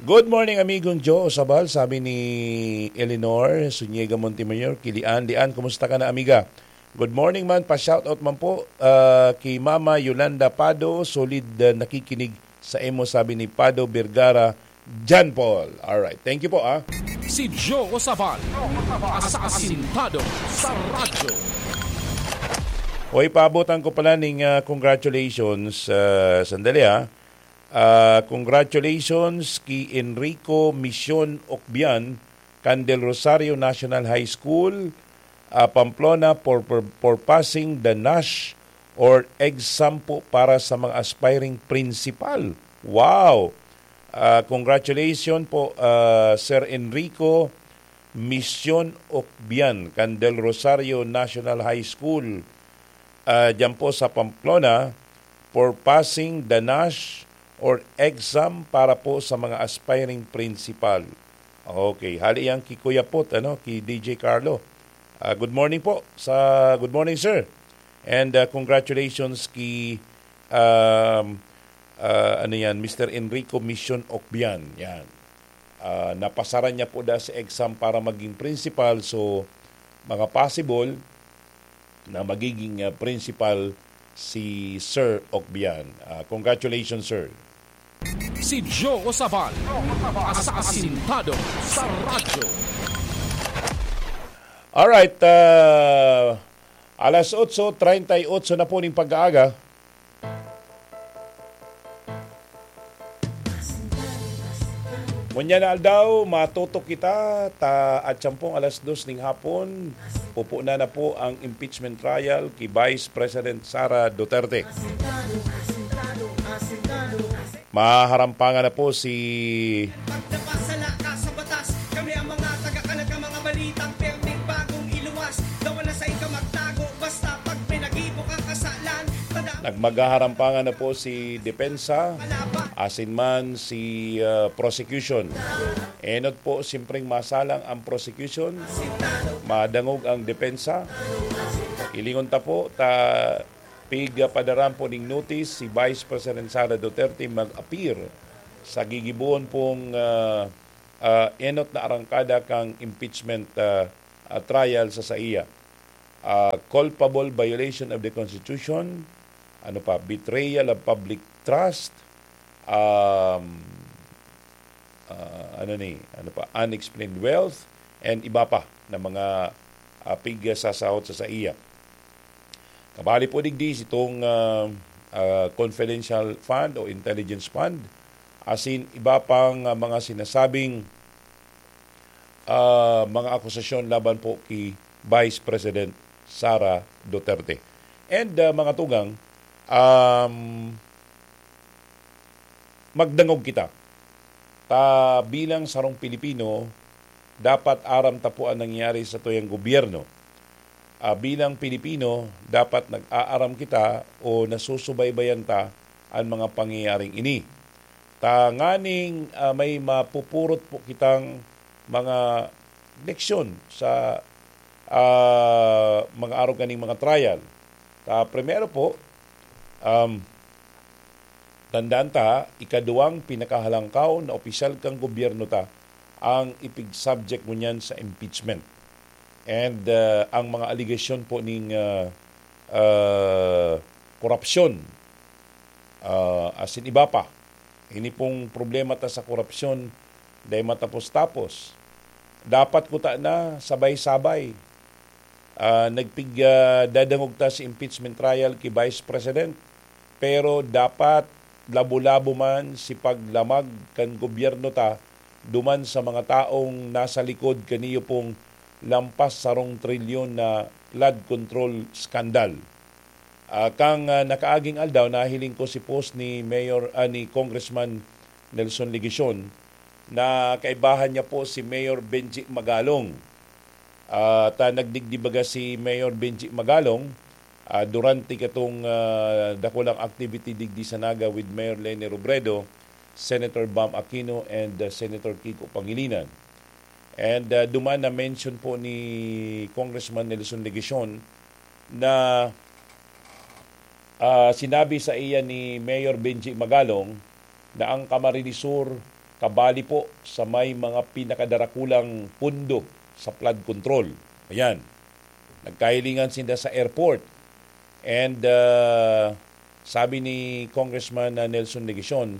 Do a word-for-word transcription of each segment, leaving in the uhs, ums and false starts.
Good morning, amigong Joe Osabal, sabi ni Eleanor Zuniga Montemayor, ki Lian. Lian, kumusta ka na, amiga? Good morning man, pa-shoutout man po, ah, ki Mama Yolanda Pado, solid, ah, nakikinig sa imo, sabi ni Pado Vergara John Paul. Alright, thank you po, ah. Si Joe Osabal, asasintado sa radyo. Hoy, paabotan ko pala ning, ah, congratulations, ah, sandali, ah. Ah, congratulations ki Enrico Mission Ocbian kan Del Rosario National High School, ah, Pamplona for, for, for passing the NASH or exam po para sa mga aspiring principal. Wow! Ah, congratulations po, ah, Sir Enrico Mission Ocbian kan Del Rosario National High School, ah, diyan po sa Pamplona for passing the NASH or exam para po sa mga aspiring principal. Okay, hali yan ki Kuya Pot, ano, ki D J Carlo. Ah, good morning po sa, good morning, sir. And, ah, congratulations ki, um, ah, ano yan, Mister Enrico Mission Ocbian. Yan. Ah, napasaran niya po da sa exam para maging principal. So, mga possible na magiging, ah, principal si Sir Ocbian. Ah, congratulations, sir. Si Joe Osabal, asasintado sa radyo. Alright, ah, alas otso treinta y ocho na po ning pag-aaga. Ngunyan na aldaw, matutok kita, ta atyan pong alas dos ning hapon, pupunan na po ang impeachment trial ki Vice President Sara Duterte. Maharampangan na po si Pagdapasala ka sa batas, kami ang mga taga-kalat ng mga balitang perting bagong iluwas. Dawa na sa ika magtago, basta pag may nag-ibo kang kasalan, tada- Nagmagaharampangan na po si depensa, asin man si, ah, prosecution. Enot po, simpreng masalang ang prosecution, madangog ang depensa. Ilingon ta po, ta pigpadaran po ning notice si Vice President Sara Duterte mag-appear sa gigibohon pong, ah, ah, enot na arangkada kan impeachment, ah, ah, trial sa saiya. Ah, culpable violation of the Constitution, ano pa, betrayal of public trust, um, ah, ano ni, ano pa, unexplained wealth, and iba pa na mga, ah, pigsasahot sa saiya. Kabali po digdi sitong, ah, ah, confidential fund o intelligence fund, asin iba pang, ah, mga sinasabing, ah, mga akusasyon laban po ki Vice President Sara Duterte. And, ah, mga tugang, um, magdangog kita. Ta bilang sarong Pilipino, dapat aram ta po ang nangyayari sa tuyang gobyerno. Ah, bilang Pilipino, dapat nag-aaram kita o nasusubaybayan ta an mga pangyayaring ini. Tanganing, ah, may mapupurot po kitang mga leksyon sa, ah, mga arog kaning mga trial. Ta primero po, um, tandaan ta, ikaduwang pinakahalangkaw na opisyal kan gobyerno ta ang ipig-subject ngunyan sa impeachment. And, ah, ang mga aligasyon po ning, ah, ah, korupsyon, ah, asin iba pa. Ini pong problema ta sa korupsyon, dai matapos-tapos. Dapat kuta na sabay-sabay. Ah, nagpig-, ah, dadangog ta si impeachment trial ki Vice President, pero dapat labo-labo man si paglamag kan gobyerno ta duman sa mga taong nasa likod kaniyo pong lampas sarong trilyon na flood control scandal. Ah, kan, ah, nakaaging aldaw, nahiling ko si post ni Mayor, ah, ni Congressman Nelson Legacion na kaibahan niya po si Mayor Benji Magalong. Ah, ta nagdigdi baga si Mayor Benji Magalong, ah, durante katong, ah, dakulang activity digdi sa Naga with Mayor Leni Robredo, Senator Bam Aquino, and, ah, Senator Kiko Pangilinan. And, ah, duman na-mention po ni Congressman Nelson Legacion na, ah, sinabi sa iya ni Mayor Benji Magalong na ang Camarines Sur kabali po sa may mga pinakadarakulang pundo sa flood control. Ayan. Nagkahilingan sinda sa airport. And uh, sabi ni Congressman uh, Nelson Legacion,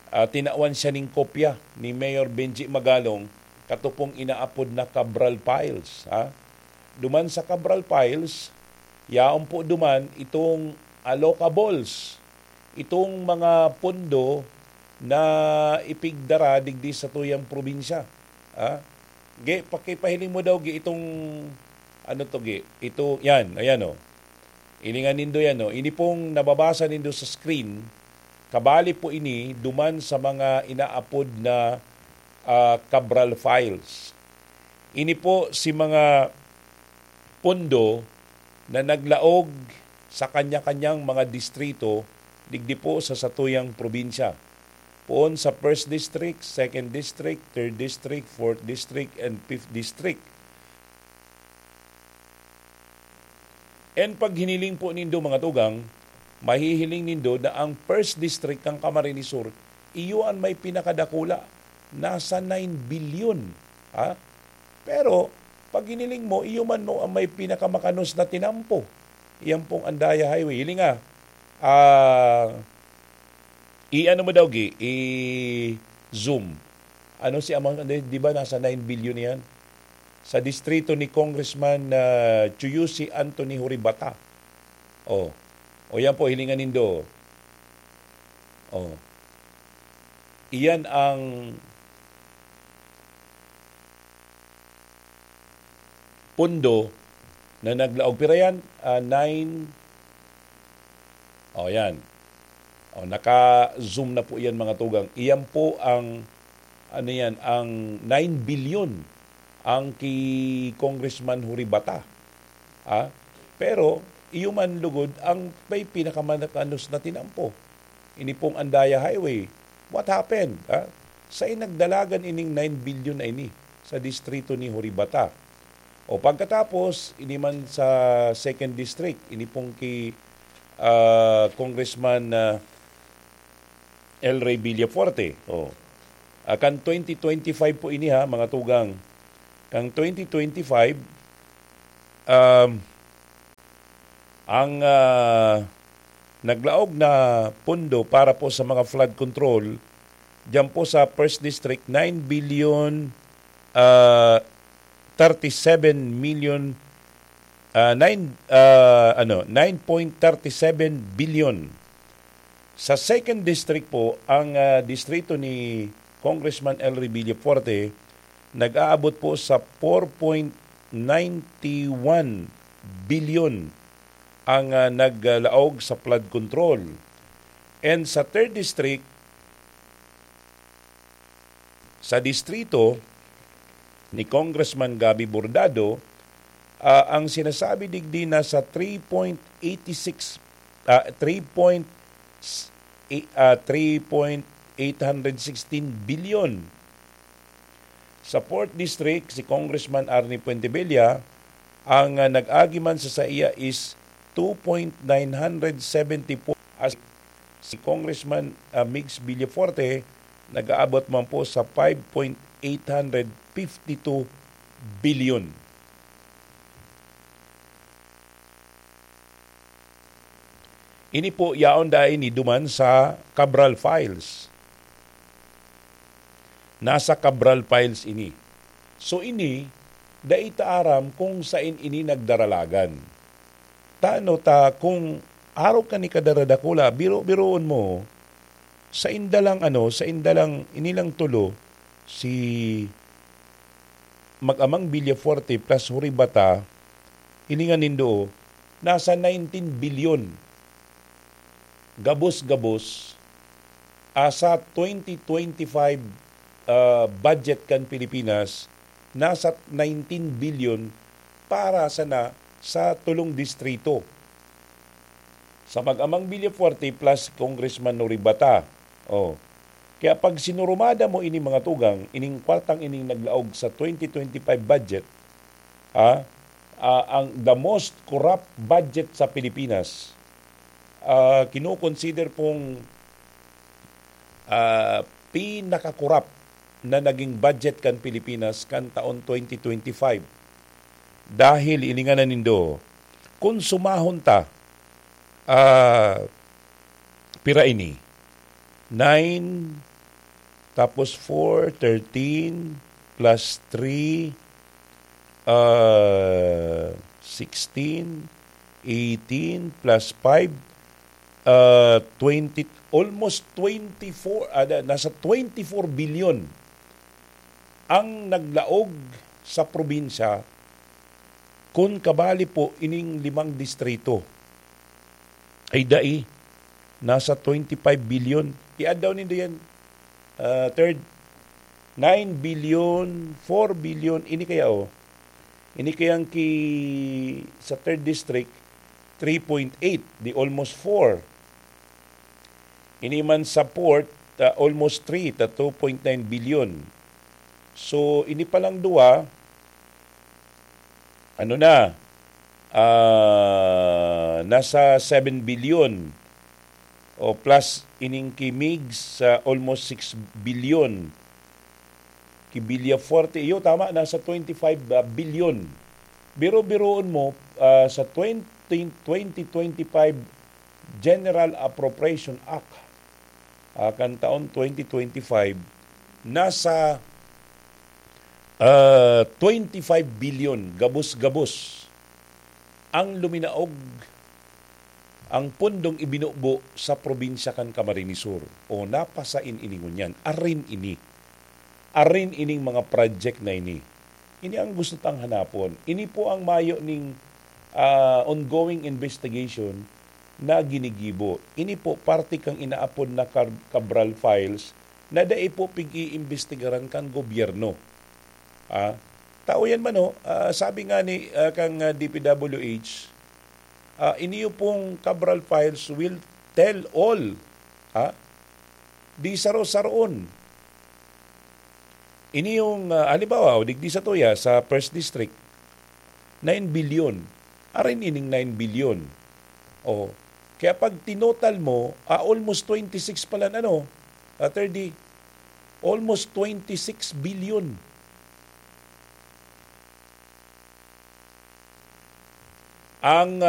uh, tinawan siya ning kopya ni Mayor Benji Magalong katupong inaapod na Cabral Files. Ha? Duman sa Cabral Files, yaon po duman itong allocables, itong mga pondo na ipigdara digdi sa tuyang probinsya. Ha? Ge, pakipahiling mo daw, ge, itong, ano to, ge? Ito, yan, ayan, oh. Hilingan nindo yan, oh. Ini pong nababasa nindo sa screen, kabali po ini duman sa mga inaapod na ah, Cabral Files. Ini po si mga pondo na naglaog sa kanya-kanyang mga distrito digdi po sa satuyang probinsya. Poon sa first district, second district, third district, fourth district, and fifth district. And pag hiniling po nindo, mga tugang, mahihiling nindo na ang first district kan Camarines Sur, iyo an may pinakadakula, nasa nine billion. Ha? Pero, pag hiniling mo, iyo man no ang may pinakamakanos na tinampo. Iyan pong Andaya Highway. Hiling nga, ah, i-ano mo daw, Gi? I-zoom. Ano si amount, di, di ba nasa nine billion yan? Sa distrito ni Congressman ah, Chuyusi Anthony Horibata. Oh. O yan po, hilingan nindo. Oh. Iyan ang pondo na naglaog. Pira yan? Ah, nine. O, yan. O, naka-zoom na po yan, mga tugang. Iyan po ang, ano yan, ang nine billion ang ki Congressman Horibata. Ah, pero, iyo man lugod ang may pinakamakanos na tinampo. Ini pong Andaya Highway. What happened? Ah? Sain nagdalagan ining nine billion na ini sa distrito ni Horibata? O pagkatapos, ini man sa second district, ini pong ki ah, Congressman ah, El Rey Villafuerte. Oh. Ah, kan twenty twenty-five po ini ha, mga tugang. Kan twenty twenty-five, um, ang ah, naglaog na pondo para po sa mga flood control, diyan po sa first district, nine billion, ah, thirty-seven million, ah, nine, ah, ano, nine point thirty-seven billion. Sa second district po, ang ah, distrito ni Congressman El Revilla Forte, nag-aabot po sa four point ninety one billion ang ah, naglaog sa flood control. And sa third district, sa distrito ni Congressman Gabby Bordado, ah, ang sinasabi digdi nasa three point eighty six, ah, three point, ah, three point eight hundred sixteen billion. Sa fourth District, si Congressman Arnie Fuentebella, ang ah, nag-agi man sa saiya is two point nine hundred seventy four. As si Congressman ah, Migs Villafuerte, nag-aabot man po sa five point eight hundred fifty two billion. Ini po, yaon dai ni duman sa Cabral Files. Nasa Cabral Files ini. So ini, dai ta aram kung sain ini nagdaralagan. Tano ta kung arog kan ikadaradakula, biro-biroon mo, sainda lang ano, sainda lang, ini lang tulo, si Mag-amang Villafuerte plus Horibata, hilingan nindo, nasa nineteen billion. Gabos-gabos, asa twenty twenty-five ah, budget kan Pilipinas, nasa nineteen billion para sana sa tulong distrito. Sa Mag-amang Villafuerte plus Congressman Horibata. Oh. Kaya pag sinurumada mo ini, mga tugang, ining kwartang ining naglaog sa twenty twenty-five budget, ah, ah, ang the most corrupt budget sa Pilipinas, ah, kinoconsider pong ah, pinaka-corrupt na naging budget kan Pilipinas kan taon twenty twenty-five. Dahil iningan na nindo, kung sumahon ta, ah, pira ini? Nine, tapos four, thirteen, plus three, ah, sixteen, eighteen, plus five, ah, twenty, almost twenty-four, ah, na- nasa twenty-four billion ang naglaog sa probinsya kun kabali po ining limang distrito. Ay dai, nasa twenty-five billion. Iadlaw nindo yan, ah, third, nine billion, four billion, ini kaya, oh. Ini kayang ki, sa third district, three point eight, di almost four. Ini man sa fourth, ah, almost three, ta two point nine billion. So, ini pa lang duwa, ano na, ah, nasa seven billion. O plus, ining ki Migs sa almost six billion. Ki Villafuerte, iyo, tama, nasa twenty-five billion. Biro-biroon mo, ah, sa twenty, twenty twenty-five General Appropriation Act, ah, kan taon twenty twenty-five, nasa, ah, twenty-five billion, gabos-gabos, ang luminaog, ang pundong ibinubo sa probinsya kan Camarines Sur. O, napasain ini ngunyan. Arin ini. Arin ining mga project na ini. Ini ang gusto tang hanapon. Ini po ang mayo ning, ah, ongoing investigation na ginigibo. Ini po parte kang inaapod na Cab-, Cabral Files na dai po pig-iimbestigaran kan gobyerno. Ah, tao yan man, oh. Ah, sabi nga ni, ah, kang, ah, D P W H, ah, "Iniyo pong Cabral Files will tell all." Ah, di saro-saroon. Ini yung, ah, halimbawa, o digdi sa tuya, sa First District, nine billion. Arin ining nine billion. O, kaya pag tinotal mo, ah, almost twenty-six pala na, no? Ah, thirty, almost twenty-six billion. Ang,